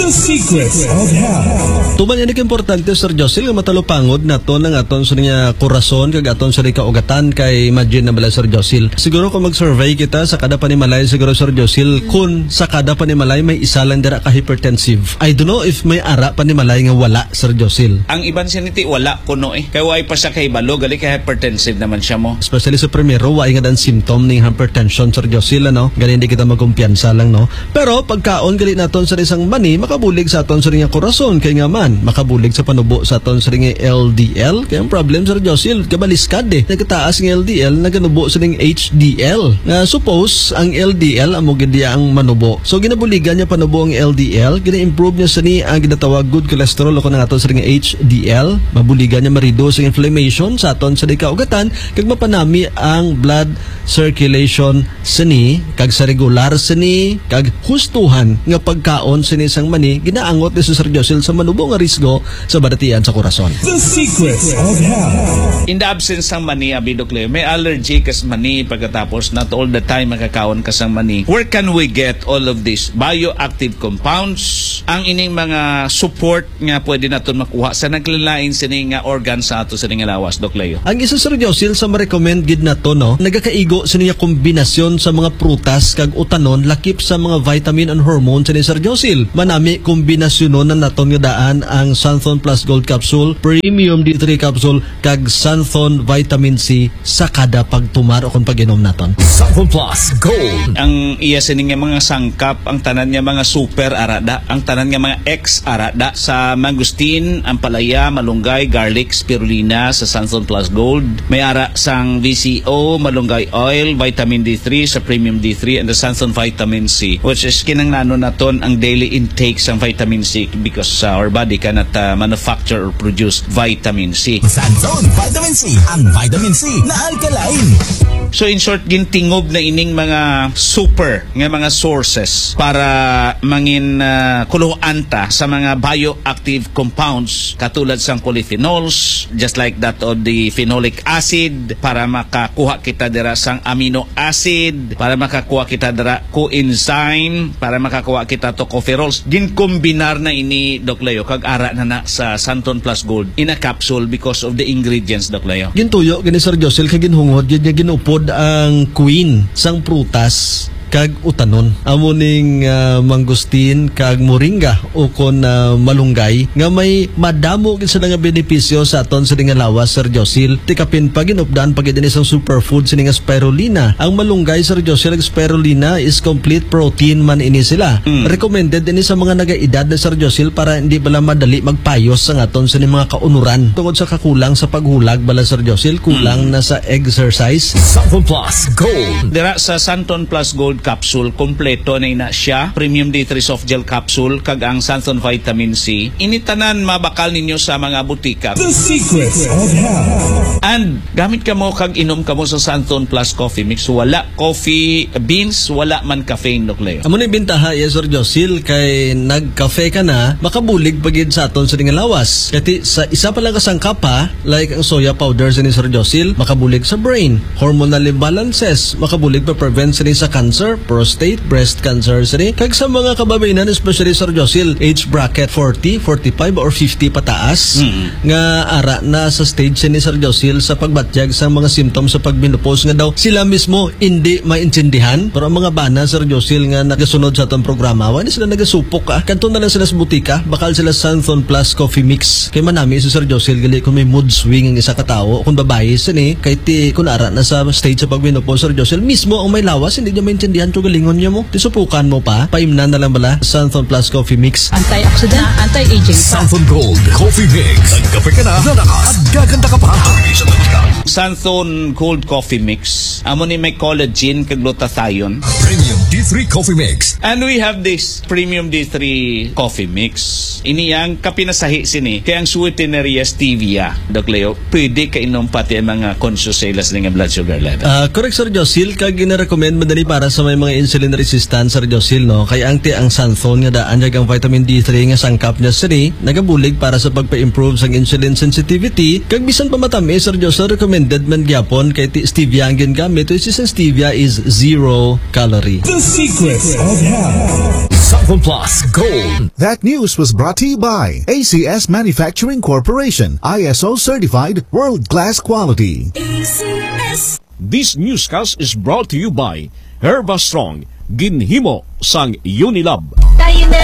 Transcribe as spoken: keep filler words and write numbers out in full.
The Secrets of Health. Tuman ini kaimportante, Sir Josil, nga matalupangod naton ang aton sa nga kurason kag aton sa kaugatan. Kay imagine na bala, Sir Josil, siguro kung mag-survey kita sa kada panimalay, siguro, Sir Josil, kun sa kada panimalay may isa lang dira ka hypertensive. I don't know if may ara panimalay nga wala, Sir Josil. Ang iban siniti wala kuno eh. Kay way pa siya kahibalo, gali kay hypertensive naman siya mo. Especially sa primero, way nga dan symptom ning hypertension, Sir Josil, ano? Gali hindi kita magkumpiyansa lang, no? Pero pagkaon gali naton sa isang mani, makabulig sa aton sa nga kurason, kay nga man, makabulig sa panubo sa aton sa nga L D L. Kay ang problem, Sir Josil, kabaliskad eh. Nagkataas nga L D L, naganubo sa nga H D L. Nga suppose, ang L D L amo gid iya ang manubo. So, ginabuligan niya panubo ang L D L, gina-improve niya sini ang ginatawag good cholesterol o kung ang aton sa nga H D L. Mabuligan niya ma-reduce ang inflammation sa aton sa kaugatan, kag mapanami ang blood circulation sini, kag sa regular sini, kag hustuhan nga pagkaon sini sang mani, ginaangot ni Sir Josil sa manubo nga risgo sa baratian sa kurason. The Secrets of Health. In the absence sang mani, abi, Doc Leo, may allergy kas mani pagkatapos, not all the time makakaon ka sang mani. Where can we get all of these bioactive compounds? Ang ining mga support nga pwede naton makuha sa naglain-lain sini nga organ sa ato sini nga lawas, Doc Leo. Ang isa, Sir Josil, sa ma-recommend gid nato, no, nagakaigo sini nga kombinasyon sa mga prutas kag utanon, lakip sa mga vitamin and hormone sini, Sir Josil. Manami kombinasyonon na naton nga daan ang Santhon Plus Gold Capsule, Premium D three Capsule, kag Santhon Vitamin C sa kada pagtumar o kung pag-inom naton. Santhon Plus Gold. Ang iya sini nga mga sangkap, ang tanan nga mga super arada, ang tanan nga mga X arada, sa mangosteen, ampalaya, malunggay, garlic, spirulina sa Santhon Plus Gold. May ara sang V C O, malunggay oil, vitamin D three sa Premium D three, and the Santhon Vitamin C, which is kinanglanon naton ang daily intake sang vitamin C because uh, our body cannot uh, manufacture or produce vitamin C. Santhon Vitamin C, ang vitamin C na alkaline. So in short, gintingob na ining mga super nga mga sources para mangin uh, kuluhan ta sa mga bioactive compounds katulad sang polyphenols, just like that of the phenolic acid, para makakuha kita dira sang amino acid, para makakuha kita dira coenzyme, para makakuha kita tocopherols. Ginkombinar na ini, Doc Leo, kag ara na na sa Santon Plus Gold in a capsule because of the ingredients, Doc Leo. Gintuyo gani, Sir Josil, kag ginhungod gid nga ginupod ang queen sang prutas kag utanon. Amo ning ah, mangosteen kag moringa ukon ah, malunggay nga may madamo gid sila nga benepisyo sa aton sini nga lawas, Sir Josil. Ti kapin pa, ginupdan pa gid ini sang superfood sini nga spirulina. Ang malunggay, Sir Josil, ag spirulina is complete protein man ini sila. Mm. Recommended ini sa mga nagaedad na, Sir Josil, para hindi bala madali magpayos ang aton sini mga kaunuran tungod sa kakulang sa paghulag bala, Sir Josil, kulang Mm. na sa exercise. Santon Plus Gold. Dira sa Santon Plus Gold Capsule, kompleto na ina siya. Premium D three Soft Gel Capsule, kag ang Santon Vitamin C. Ini tanan mabakal ninyo sa mga butika. The Secrets of Health. And gamit kamo kag inom kamo sa Santon Plus Coffee Mix. Wala coffee beans, wala man caffeine, Doc Leo. Amo ni bintaha, yes, Sir Josil, kay nagkafe ka na, makabulig pa gid sa aton sini nga lawas. Kay ti, sa isa pa lang ka sangkap, ha, like ang soya powder sini, Sir Josil, makabulig sa brain, hormonal imbalances, makabulig pa prevent sini sa cancer, prostate, breast cancer sini, kag sa mga kababayen-an, especially, Sir Josil, age bracket forty, forty-five, or fifty pataas, Mm. nga ara na sa stage sini, Sir Josil, sa pagbatyag sa mga symptoms sa pagmenopause nga daw sila mismo hindi maintindihan. Pero ang mga bana, Sir Josil, nga nagasunod sa atong programa, wala sila nagasupok, ah. Kadto na lang sila sa butika, bakal sila Santhon Plus Coffee Mix. Kay manami si Sir Josil, gali kung may mood swing ang isa ka tawo, kung babayi sini, kay ti, kung ara na sa stage sa pagmenopause, Sir Josil, mismo ang may lawas, hindi niya maintindihan kung galingon niya mo. Ti supukan mo pa, paimnan na lang bala, Santhon Plus Coffee Mix. Antioxidant, anti-aging. Santhon Gold Coffee Mix. Nagkape ka na, lalakas, at gaganda ka pa. Santhon Gold Coffee Mix. Amo ni may collagen kag glutathione. Premium D three Coffee Mix. And we have this Premium D three Coffee Mix. Ini ang kapinasahi sini kay ang sweetener iya stevia, Doc Leo. Pwede kainom pati ang mga conscious sa ila sini nga blood sugar level. Ah, correct, Sir Josil, kag gina-recommend man dali para sa may mga insulin resistant, Sir Josil, no? Kay ang ti ang Santhon nga daan kag ang vitamin D three nga sangkap niya sini nagabulig para sa pagpa-improve sang insulin sensitivity, kag bisan pa matamis, Sir Josil, recommended man gyapon kay ti stevia ang gingamit, which is ang stevia is zero calorie. The Secrets of Health. Cellphone Plus Gold. That news was brought to you by A C S Manufacturing Corporation, I S O certified, world-class quality. This newscast is brought to you by Herba Strong, ginhimo sang Unilab. Tayo na